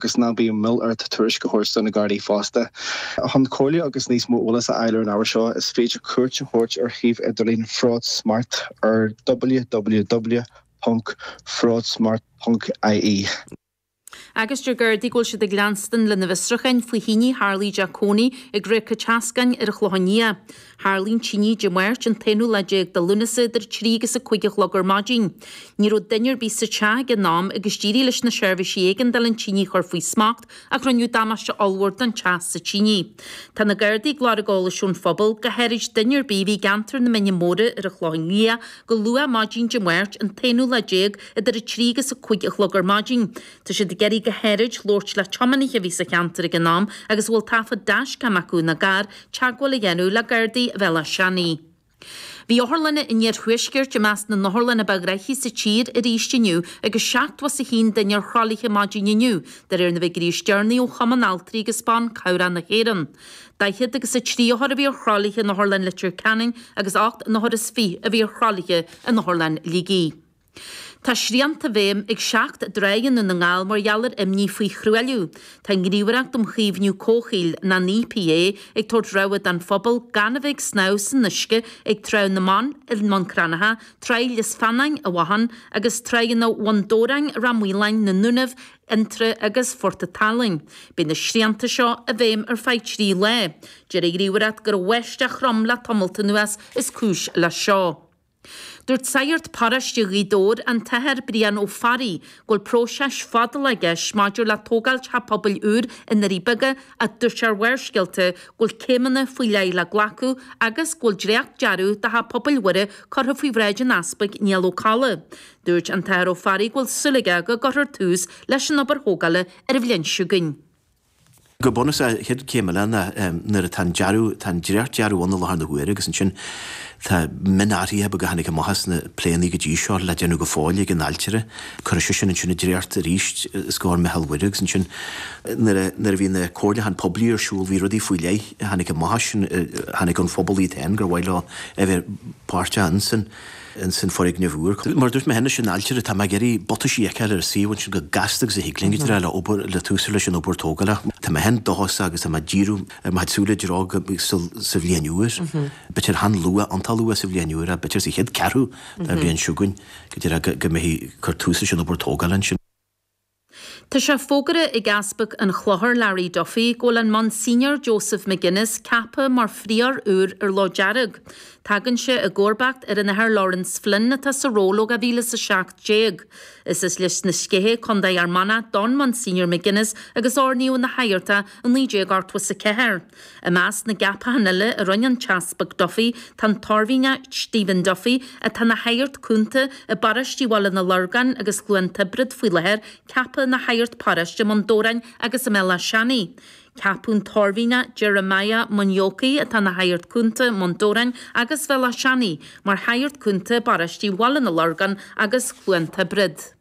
Agus ná bíodh moill ort tuairisc a thabhairt do na Gardaí fosta. Chun comhairle agus níos mó eolais a fháil ar an ábhar seo, is féidir cuairt a thabhairt ar shuíomh idirlín FraudSmart ar www.fraudsmart.ie. Agus deir Gardaí go bhfuil siad ag leanstan lena bhfiosrúcháin faoi thine a tharlaigh i dteach cónaí ag Ríoca Teascáin ar an Chlochán Liath. Tharlaigh an tine Dé Máirt, an t-aonú lá déag de Lúnasa idir 3 agus 5 a chlog ar maidin. Ní raibh duine ar bith sa teach ag an am agus d'éirigh leis na seirbhísí éigeandála an tine a chur faoi smacht ach rinneadh damáiste ollmhór don teach sa tine. Tá na Gardaí ag lorg eolais ón phobal, go háirid duine ar bith a bhí i gceantar na Mine Móire ar an Chlochán Liath go luath maidin Dé Máirt, an t-aonú lá déag, idir 3 agus 5 a chlog ar maidin. Tá siad ag iarraidh go háirid labhairt le tiománaithe a bhí sa cheantar ag an am agus a bhfuil taifead dashcam acu ina gcarr, teagmháil a dhéanamh le Gardaí Bhéal Átha Seanaidh. Bhí otharlanna an iarthuaiscirt i measc na n-otharlann a ba ghnoithí sa tír arís inniu agus 71 duine ar thralaithe maidin inniu, de réir na bhfigiúirí is deireanaí ó Chumann Altraí agus Ban Cabhrach na hÉireann. 40 agus 3 othar a bhí ar thralaithe in Otharlann Leitir Ceanainn agus 28 n-othar a bhí ar thralaithe in Otharlann Shligigh. Tá srianta i bhfeidhm ag 7 dtrá i nDún na nGall mar gheall ar imní faoi thruailliú. Tá an Ghníomhaireacht um Chaomhnú Comhshaoil, ná an EPA, ag tabhairt rabhadh don phobal gan a bheith ag snámh san uisce ag Trá na mBan i mBun Cranncha, Trá Lios Feannáin i bhFathán agus Tráigheanna Bhun Dobhráin, Ráth Maoláin, na nDúnaibh, Fhionntrá agus Phort a' tSalainn. Beidh na srianta seo i bhfeidhm ar feadh 3 lá. Deir an Ghníomhaireacht gur an bháisteach throm le tamalt anuas is cúis leis seo. Dúirt sagart paróiste Ghaoth Dobhair, an tAthair Brian Ó Fearraigh, go bhfuil próiseas fada i gceist maidir le tógáil teach pobail úr i nDoirí Beaga ach dúirt sé ar Bharrscéalta go bhfuil céimeanna faoi leith le glacadh agus go bhfuil dréacht-dearadh do theach pobail Mhuire curtha faoi bhráid an Easpaig Niall Ó Colla. Dúirt an tAthair Ó Fearraigh go bhfuil súil aige go gcuirfear tús leis an obair thógála ar an bhliain seo chugainn. Go bunúsach, an chéad chéim eile ná nuair atá an dearadh, tá an dréacht-dearadh ann i láthair na huaire agus ansin tá mionathruithe beaga a tháinig amach as na pléanna go dtí seo le déanamh go fóill ag an ailtire. Cuirfidh sé sin ansin an dréacht arís os comhair Meitheal Mhuire agus ansin nuair a, nuair a bhí na comhairliúcháin poiblí ar siúl bhí rudaí faoi leith a tháinig amach as sin, a tháinig ón phobal iad féin gur mhaith leo a bheith páirteach ansin. ins an foirgneamh úr. Mar a dúirt mé cheana, leis an ailtire, tá mé ag iarraidh butaisí a fheiceáil ar an suíomh ansin chomh gasta agus a thig linn go díreach le obair, le tús a chur leis an obair tógála. Tá mé féin dóchasach agus tá mé ag díriú ar mo chuid súile i dtreo go sa bhliain úr, b'fhéidir an-luath, iontach luath sa bhliain úr, b'fhéidir sa chéad ceathrú den bhliain seo chugainn, go díreach go mbeifí ag cur tús leis an obair tógála ansin. Tá sé fógartha ag Easpag an Chlochair, Larry Duffy, go bhfuil an Monsignor Joseph McGuinness ceaptha mar phríóir úr ar Loch Dearg. Tagann sé i gcomharbacht ar an Athair Laurence Flynn atá sa ról ó 2017. Is as Lios na Sceiche, Co. Fhear Manach don Monsignor McGuinness agus oirníodh ina shagart é i 1984. I measc na gceapachán eile a rinne an tEaspag Duffy tá an tOirmhinneach Stephen Duffy, atá ina shagart cúnta i bparóistí Bhaile na Lorgan agus Chluain Tiobraid faoi láthair, ceaptha ina shagart paróiste i mBun Dobhráin agus i mBéal Átha Seanaidh. Ceapadh an tOirmhinneach Jeremiah Munyoki, atá ina shagart cúnta i mBun Dobhráin agus Bhéal Átha Seanaidh, mar shagart cúnta i bparóistí Bhaile na Lorgan agus Chluain Tiobraid.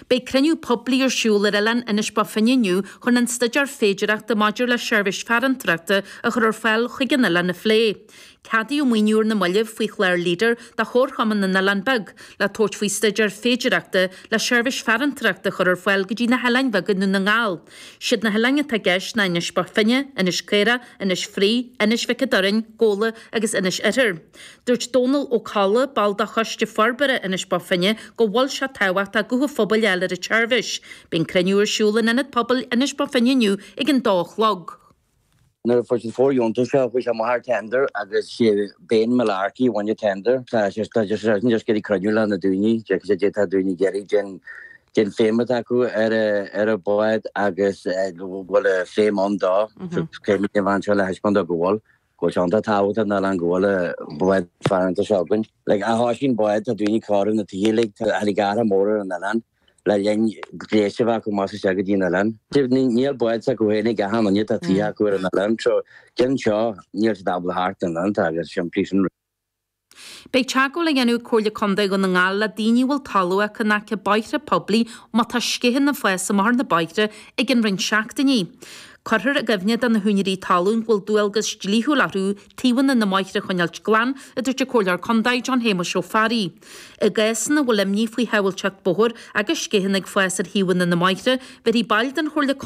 Beidh cruinniú poiblí ar siúl ar oileán Inis Bó Finne inniu chun an staidéar féidearthachta maidir le seirbhís farantóireachta a chur ar fáil chuig an oileán a phlé. Ceadaíodh maoiniú ar na mallaibh faoi chlár Leader do Chomharchumann na nOileán Beag le tabhairt faoi staidéar féidearthachta le seirbhís farantóireachta a chur ar fáil go dtí na hoileáin bheaga i nDún na nGall. Siad na hoileáin atá i gceist ná Inis Bó Finne, Inis Caorach, Inis Fraoigh, Inis Mhic an Doirn, Gabhla agus Inis Oirthir. Dúirt Dónal Ó Colla, ball de Choiste Forbartha Inis Bó Finne, go bhfuil sé tábhachtach guth an phobail a fháil ar an tseirbhís. Beidh an cruinniú ar siúl in Ionad Pobail Inis Bó Finne inniu ag an dó a chlog. Nuair a fuair siad fóirdheontas seo chuaigh sé amach ar tender agus sé Ben Mullarkey a bhain an tender. Tá sé tá sé just ag iarraidh cruinniú le na daoine, d'fhéadfadh sé d'fhéadfadh daoine ag iarraidh cén cén feidhm atá acu ar ar an bád agus go bhfuil feidhm ann dó. Céimid an bhean seo le thaispeáint dó go bhfuil. Go bhfuil sé iontach tábhachtach don oileán go bhfuil an bád farantóireachta seo againn. Like, ó thosaigh an bád, tá daoine ag cóiriú na tithe uilig, tá tháinig athrú mór ar an oileán le linn gléas a bheith acu amach is isteach go dtí an oileán. Níl bád s'acu féin ag achan duine, tá tithe acu ar an oileán, so cinn seo níl siad ábalta theacht an oileán, tá agus simplí sin. Beidh teagmháil á dhéanamh ag Comhairle Contae Dhún na nGall le daoine a bhfuil talamh acu in aice bóithre poiblí má tá sceitheanna ag fás amach ar na bóithre i gcionn roinnt seachtainí. Cuirfear i gcuimhne do na húinéirí talún go bhfuil dualgas dlíthiúil orthu taobhanna na mbóithre a choinneáilt glan, a dúirt an Comhairleoir Contae John Shéamuis Ó Fearraigh. I gcás ina bhfuil imní faoi shábháilteacht bóthair agus sceitheanna ag fás ar thaobhanna na mbóithre, bhéarfaidh baill den Chomhairle Contae.